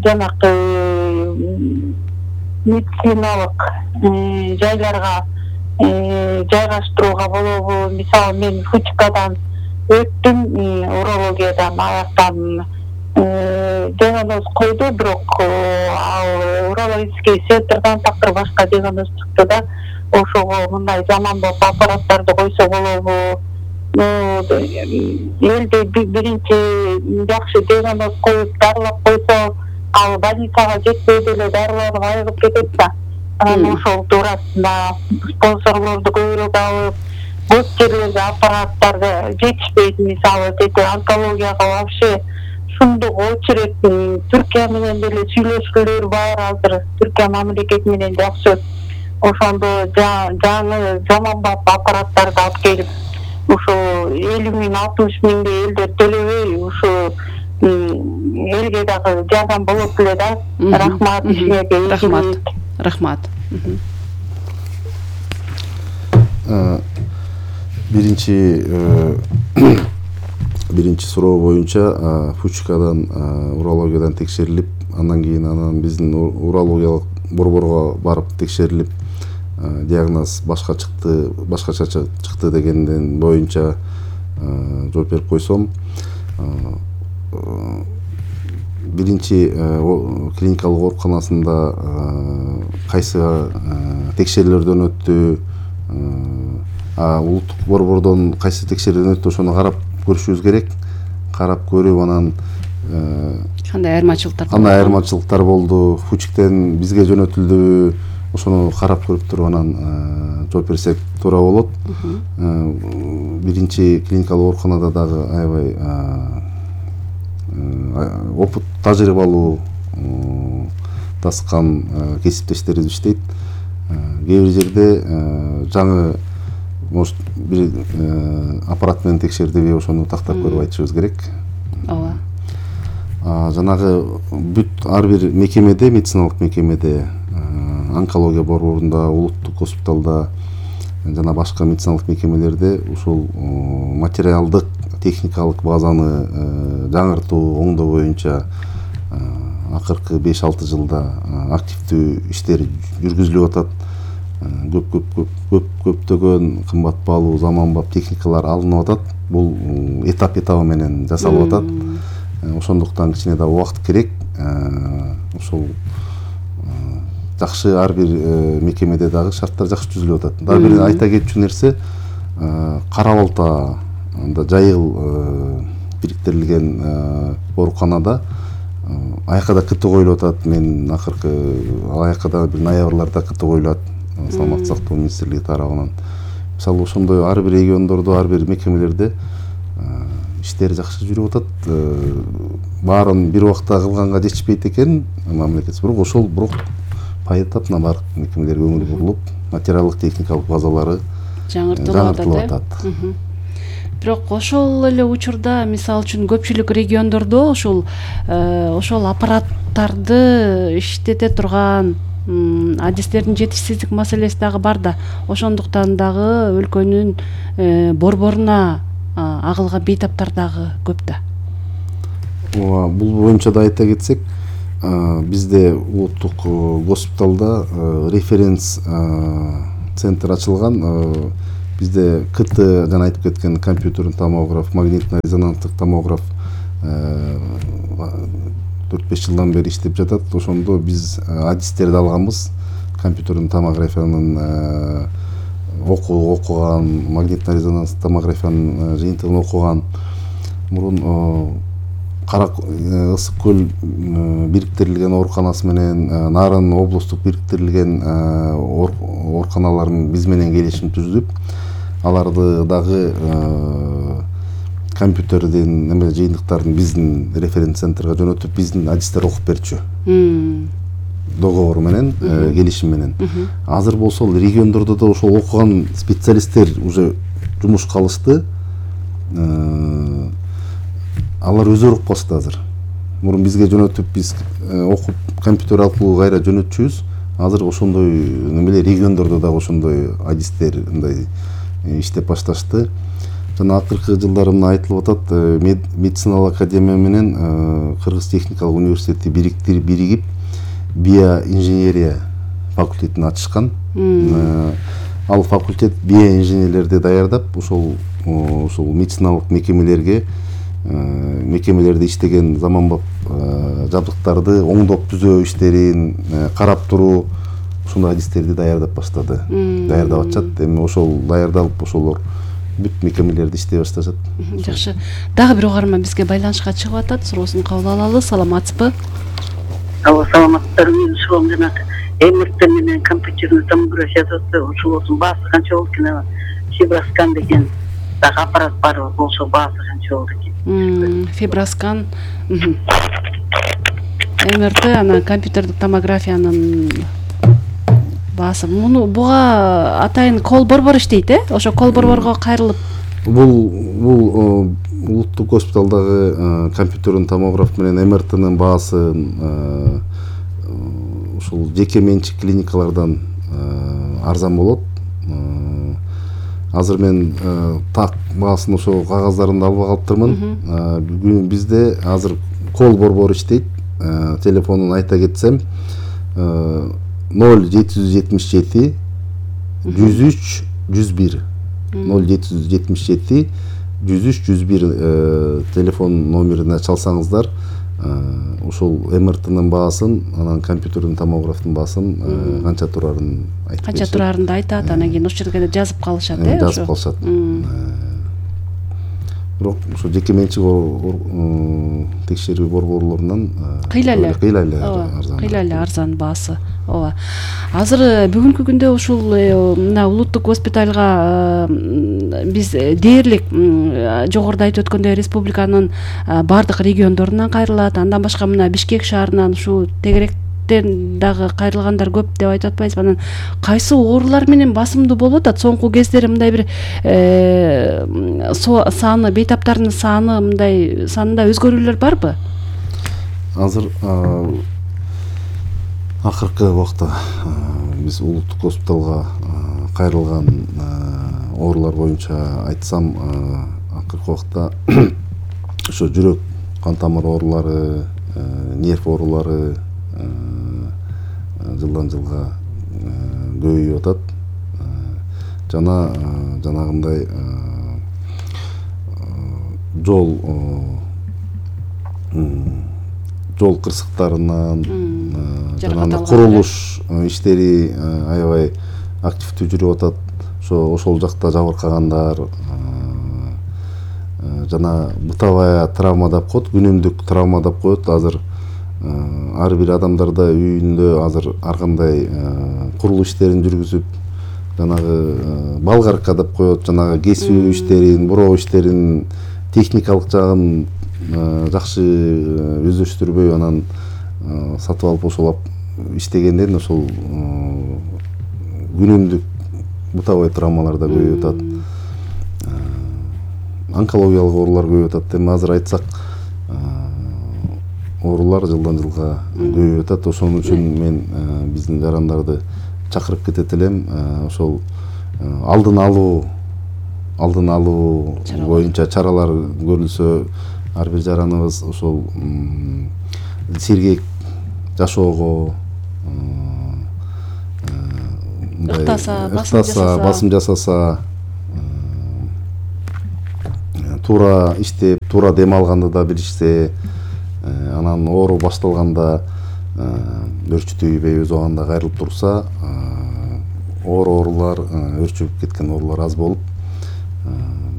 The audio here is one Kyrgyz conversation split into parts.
жанакы медициналык жайларга жайгаштырууга болобу? Мисалы мен Фучкадан өттүм, урологиядан аяктан диагноз койду, бирок ал урологический центрдан такыр башка диагноз чыкты да, ошого мындай заманбап аппараттарды койсо болобу? Элде биринчи жакшы диагноз коюп дарылап койсо, ал больницага жетпей деле дарыланып айыгып кетет да. Анан ошол туурасында спонсорлорду көбүрөөк алып, көп жерлерде аппараттарды жетишпейт. Мисалы онкологияга вообще шундук очередь, Түркия менен деле сүйлөшкүлөр бар азыр. Түркия мамлекети менен жакшы. Ошондо жаңы заманбап аппараттарды алып келип, ошо 50 миң, 60 миңдей элдер төлөбөй, ошо элге дагы жардам болот эле да. Рахмат ишиңерге. Рахмат. Биринчи суроо боюнча Фучкадан урологиядан текшерилип, андан кийин биздин урологиялык борборго барып текшерилип, диагноз башкача чыкты дегенден боюнча жооп берип койсом, биринчи клиникалык ооруканасында кайсы текшерүүлөрдөн өттү, улуттук борбордон кайсы текшерүүдөн өттү, ошону карап көрүшүбүз керек. Карап көрүп, анан кандай айырмачылыктар болду, Фучктен бизге жөнөтүлдүбү, ошону карап көрүп туруп анан жооп берсек туура болот. Биринчи клиникалык ооруканада дагы аябай опыт, тажрыйбалуу таскан кесиптештерибиз иштейт. Кээ бир жерде жаңы может бир аппарат менен текшердиби, ошону тактап көрүп айтышыбыз керек. Ооба. Жанагы бүт ар бир мекемеде, медициналык мекемеде, онкология борборунда, улуттук госпиталда жана башка медициналык мекемелерде ушул материалдык, техникалык базаны жаңыртуу, оңдоо боюнча акыркы 5-6 жылда активдүү иштер жүргүзүлүп атат. Көптөгөн кымбат баалуу заманбап техникалар алынып атат. Бул этап менен жасалып атат. Ошондуктан кичине да убакыт керек. Ошол жакшы ар бир мекемеде дагы шарттар жакшы түзүлүп атат. Дагы бир айта кетчү нерсе, Кара Балтада жайыл бириктирилген ооруканада аяка да КТ коюлуп атат. Мен акыркы аяка да бир ноябрларда КТ коюлат саламаттык сактоо министрлиги тарабынан. Мисалы ошондой ар бир региондордо, ар бир мекемелерде иштер жакшы жүрүп атат. Баарын бир убакта кылганга жетишпейт экен мамлекет, бирок ошол пайдап баардык мекемелерге көңүл бурулуп, материалдык, техникалык базалары жаңыртылып атат. Бирок ошол эле учурда, мисалы үчүн көпчүлүк региондордо ошол аппараттарды иштете турган адистердин жетишсиздик маселеси дагы бар да. Ошондуктан дагы өлкөнүн борборуна агылган бейтаптар дагы көп да. Бул боюнча да айта кетсек, бизде улуттук госпиталда референс центр ачылган. Бизде КТ, жана айтып кеткен компьютерный томограф, магнитно-резонанстык томограф 4-5 жылдан бери иштеп жатат. Ошондо биз адистерди алганбыз. Компьютерный томографиянын окуган, магнитно-резонанстык томографиянын жыйынтыгын окуган. Мурун Ысык көл бириктирилген ооруканасы менен Нарын облустук бириктирилген ооруканаларын биз менен келишим түздүп, аларды дагы компьютердин жыйынтыктарын биздин референс центрге жөнөтүп, биздин адистер окуп берчү. Договор менен, келишим менен. Азыр болсо региондордо да ошол окуган специалисттер уже жумушка алышты. Алар өздөрү окуп башты азыр. Мурун бизге жөнөтүп, биз окуп компьютер аркылуу кайра жөнөтчүбүз. Азыр ошондой региондордо да ошондой адистер мындай иштеп башташты. жана акыркы жылдары мына айтылып атат, медициналык академия менен Кыргыз техникалык университети биригип биоинженерия факультетин ачышкан. Ал факультет биоинженерлерди даярдап, ушул медициналык мекемелерде иштеген заманбап жабдыктарды оңдоп түзөө иштерин карап туруу, ушундай адистерди даярдап баштады. Даярдап атышат. Эми ошол даярдалып, ошолор бүт мекемелерде иштей башташат. Жакшы. Дагы бир угарман бизге байланышка чыгып атат. Суроосун кабыл алалы. Саламатсызбы? Саламаттар, менин суроом жана МРТ менен компьютерный томография ушулардын баасы канча болот экен? Фиброскан деген дагы аппарат бар болсо баасы канча болот экен? Фиброскан, МРТ, анан компьютердик томографиянын баасы. Буга атайын кол борбор иштейт, Ошо кол борборго кайрылып. Бул улуттук госпиталдагы компьютерный томограф менен МРТнын баасы ушул жеке менчик клиникалардан арзан болот. Азыр мен так баасын ошо кагаздарын алып калыптырмын. Бизде азыр кол борбору иштейт. Телефонун айта кетсем 0777 103 101 0777 103 101 телефон номерине чалсаңыздар, ошол МРТнын баасын, анан компьютердин томографтын баасын канча турарын айтып беришет. Канча турарынды айтат, анан кийин ошол жерге жазып калышат, Жазып калышат. Бирок ошо жеке менчик текшерүү борборлорунан кыйла эле арзан баасы. Ооба. Азыр бүгүнкү күндө ушул мына улуттук госпитальга биз дээрлик жогоруда айтып өткөндөй республиканын бардык региондорунан кайрылат. Андан башка мына Бишкек шаарынан ушу тегеректен дагы кайрылгандар көп деп айтып атпайбызбы? Анан кайсы оорулар менен басымдуу болуп атат? Соңку кездери мындай бир саны, бейтаптардын саны мындай санында өзгөрүүлөр барбы? Азыр акыркы убакта биз улуттук госпиталга кайрылган оорулар боюнча айтсам, акыркы убакта ошо жүрөк, кан тамыр оорулары, нерв оорулары жылдан жылга көбөйүп атат. Жана жанагындай жол кырсыктарынан, жана курулуш иштери аябай активдүү жүрүп атат. Ошол жакта жабыркагандар, жана бытовая травма деп коет, күнүмдүк травма деп коет. Азыр ар бир адамдарда үйүндө азыр ар кандай курулуш иштерин жүргүзүп, жанагы балгарка деп коет, жанагы кесүү иштерин, буроо иштерин, техникалык жагын жакшы өздөштүрбөй анан сатып алып ошолап иштегенден ошол күнүмдүк бытовой травмаларда көбөйүп атат. Онкологиялык оорулар көбөйүп атат. Эми азыр айтсак, оорулар жылдан жылга көбөйүп атат. Ошон үчүн мен биздин жарандарды чакырып кетет элем. Ошол алдын алуу боюнча чаралар көрүлсө, ар бир жараныбыз ошол сергек жашоого, ыктаса, басым жасаса, туура иштеп, туура дем алганды да билишсе, анан оору башталганда өрчүтүүбөй өз убагында кайрылып турса, оорулар, өрчүп кеткен оорулар аз болуп,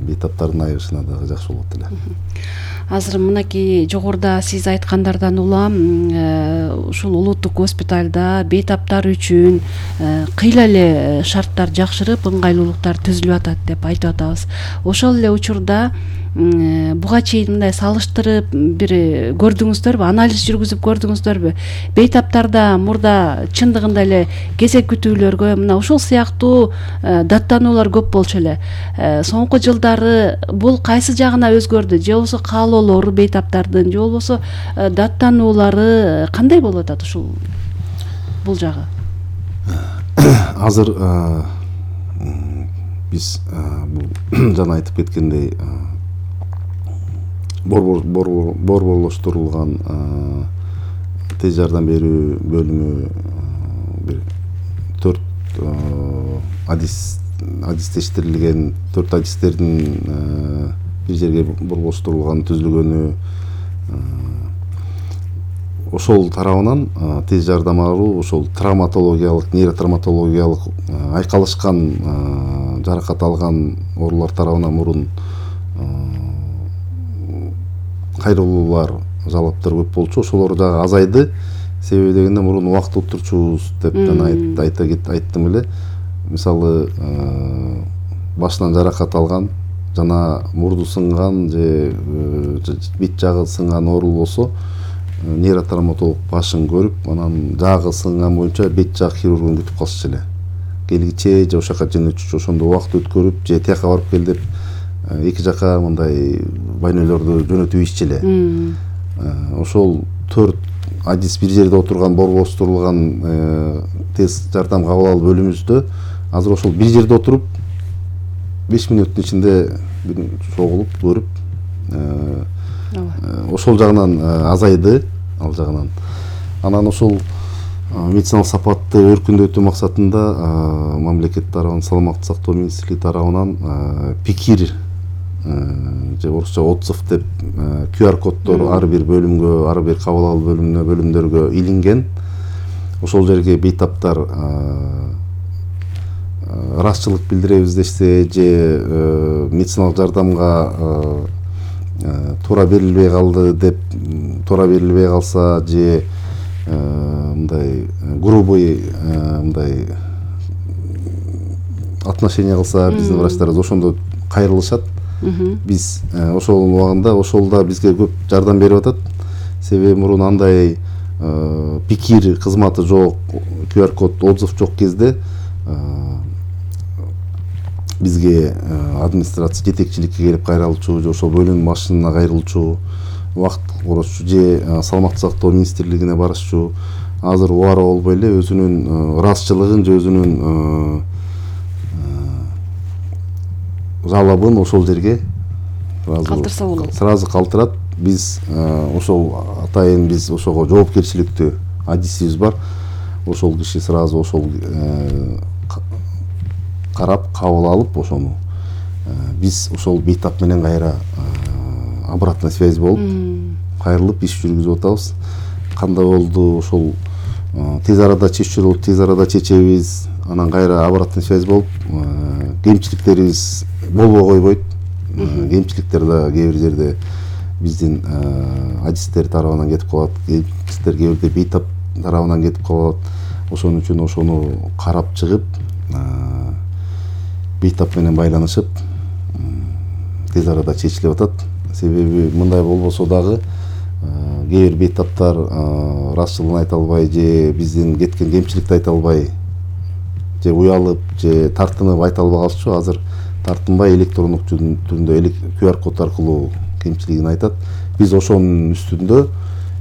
бейтаптардын айыгышына дагы жакшы болот эле. Азыр мынакей жогоруда сиз айткандардан улам ушул улуттук госпиталда бейтаптар үчүн кыйла эле шарттар жакшырып, ыңгайлуулуктар түзүлүп атат деп айтып атабыз. Ошол эле учурда буга чейин мындай салыштырып бир көрдүңүздөрбү, анализ жүргүзүп көрдүңүздөрбү? Бейтаптарда мурда чындыгында эле кезек күтүүлөргө мына ушул сыяктуу даттануулар көп болчу эле. Соңку жылдары бул кайсы жагына өзгөрдү? Же болбосо каалоолору бейтаптардын, же болбосо даттануулары кандай болуп атат ушул бул жагы? Азыр биз бул жана айтып кеткендей борборлоштурулган тез жардам берүү бөлүмү бир 4 адистештирилген 4 адистердин бир жерге борборлоштурулган түзүлгөнү, ошол тарабынан тез жардам алуу ошол травматологиялык, нейротравматологиялык айкалышкан жаракат алган оорулар тарабынан мурун кайрылуулар, жалаптар көп болчу. Ошолор дагы азайды. Себеби дегенде мурун убакыт отурчубуз деп жана айттым эле. Мисалы башынан жаракат алган жана мурду сынган же бет жагы сынган оору болсо нейротравматолог башын көрүп, анан жагы сынган боюнча бет жак хирургун күтүп калышчу эле. Келгиче же ошол жака жөнөтүчү, ошондо убакыт өткөрүп же тияка барып кел деп эки жака мындай больнойлорду жөнөтүбүзчү эле. Ошол 4 адис бир жерде отурган борборлоштурулган тез жардам кабыл алуу бөлүмүбүздө азыр ошол бир жерде отуруп 5 мүнөттүн ичинде чогулуп көрүп ошол жагынан азайды, ал жагынан. Анан ошол медициналык сапатты өркүндөтүү максатында мамлекет тарабынан, саламаттык сактоо министрлиги тарабынан пикир же орусча отзыв деп QR коддор ар бир бөлүмгө, ар бир кабыл алуу бөлүмдөргө илинген. Ошол жерге бейтаптар ырасчылык билдиребиз дешсе же медициналык жардамга туура берилбей калды деп, туура берилбей калса же мындай грубый мындай отношение кылса биздин врачтарыбыз ошондо кайрылышат. Биз ошол убагында ошолда бизге көп жардам берип атат. Себеби мурун андай пикир кызматы жок, QR код отзыв жок кезде бизге администрация жетекчиликке келип кайрылчу же ошол бөлүм башына кайрылчу, убакыт коротчу же саламаттык сактоо министрлигине барышчу. Азыр убара болбой эле өзүнүн ырасчылыгын же өзүнүн жалабын ошол жерге калтырса болот. Сразу калтырат. Биз ошол атайын биз ошого жоопкерчиликтүү адисибиз бар. Ошол киши сразу ошол карап кабыл алып ошону биз ошол бейтап менен кайра обратная связь болуп кайрылып иш жүргүзүп атабыз. Кандай болду ошол тез арада чечүү болуп тез арада чечебиз. Анан кайра обратная связь болуп кемчиликтерибиз болбой койбойт. Кемчиликтер да кээ бир жерде биздин адистер тарабынан кетип калат, кемчиликтер кээ бирде бейтап тарабынан кетип калат. Ошон үчүн ошону карап чыгып бейтап менен байланышып тез арада чечилип атат. Себеби мындай болбосо дагы кээ бир бейтаптар ырасчылыгын айта албай же биздин кеткен кемчиликти айта албай же уялып же тартынып айта албай калышчу. Азыр тартынбай электрондук түрүндө QR код аркылуу кемчилигин айтат. Биз ошонун үстүндө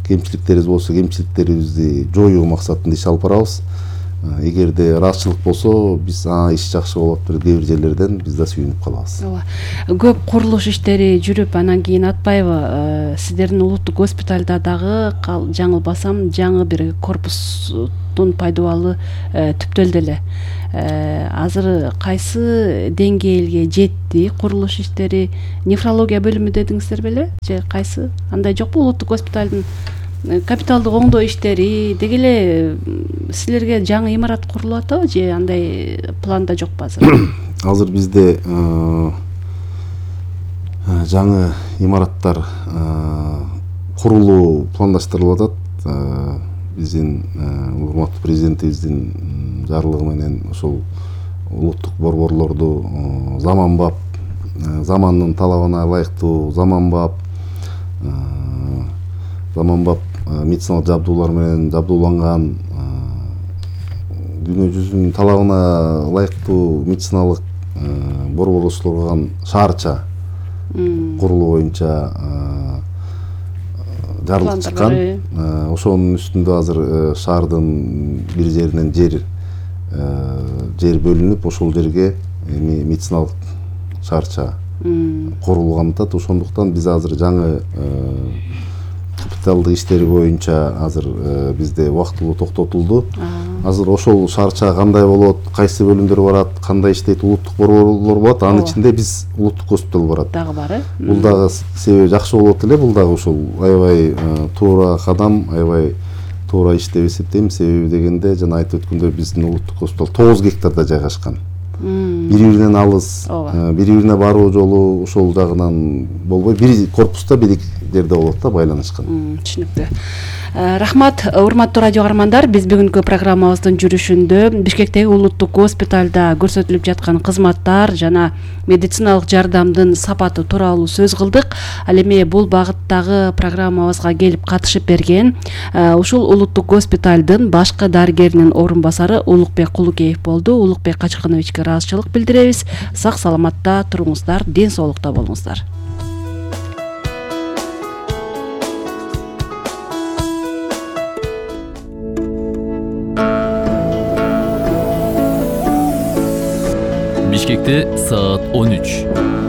кемчиликтерибиз болсо кемчиликтерибизди жоюу максатында иш алып барабыз. Эгерде ырасчылык болсо биз иш жакшы болот деп кээ бир жерлерден биз да сүйүнүп калабыз. Көп курулуш иштери жүрүп анан кийин Атбаева сиздердин улуттук госпиталда дагы жаңылбасам жаңы бир корпустун пайдубалы түптөлдү эле. Азыр кайсы деңгээлге жетти курулуш иштери? Нефрология бөлүмү дедиңиздер беле? Же кайсы? Андай жокпу улуттук госпиталдын капиталдык оңдоо иштери? Деги эле силерге жаңы имарат курулуп атабы же андай планда жокпу азыр? Азыр бизде жаңы имараттар курулуу пландаштырылып атат. Биздин урматтуу президентибиздин жарлыгы менен ошол улуттук борборлорду заманбап, замандын талабына ылайыктуу заманбап медициналык жабдуулар менен жабдууланган, дүйнө жүзүнүн талабына ылайыктуу медициналык борборлоштурулган шаарча курулуу боюнча жарлык чыккан. Ошонун үстүндө азыр шаардын бир жеринен жер бөлүнүп, ошол жерге эми медициналык шаарча курулган атат. Ошондуктан биз азыр жаңы капиталдык иштери боюнча азыр бизде убактылуу токтотулду. Азыр ошол шаарча кандай болот, кайсы бөлүмдөр барат, кандай иштейт, улуттук борборлор болот, анын ичинде биз улуттук госпиталь барат. Дагы бар. Бул дагы себеби жакшы болот эле, бул дагы ушул аябай туура кадам, аябай туура иш деп эсептейм. Себеби дегенде жана айтып өткөндөй биздин улуттук госпиталь 9 гектарда жайгашкан. Бири-биринен алыс, бири-бирине баруу жолу ошол жагынан болбой, бир корпуста бир жерде болот да, байланышкан. Түшүнүктүү. Рахмат, урматтуу радио каармандар. Биз бүгүнкү программабыздын жүрүшүндө Бишкектеги улуттук госпиталда көрсөтүлүп жаткан кызматтар жана медициналык жардамдын сапаты тууралуу сөз кылдык. Ал эми бул багыттагы программабызга келип катышып берген ушул улуттук госпиталдын башкы дарыгеринин орун басары Улукбек Кулукеев болду. Улукбек Качкановичке ыраазычылык билдиребиз. Сак саламатта туруңуздар, ден соолукта болуңуздар. Бишкекте саат 13.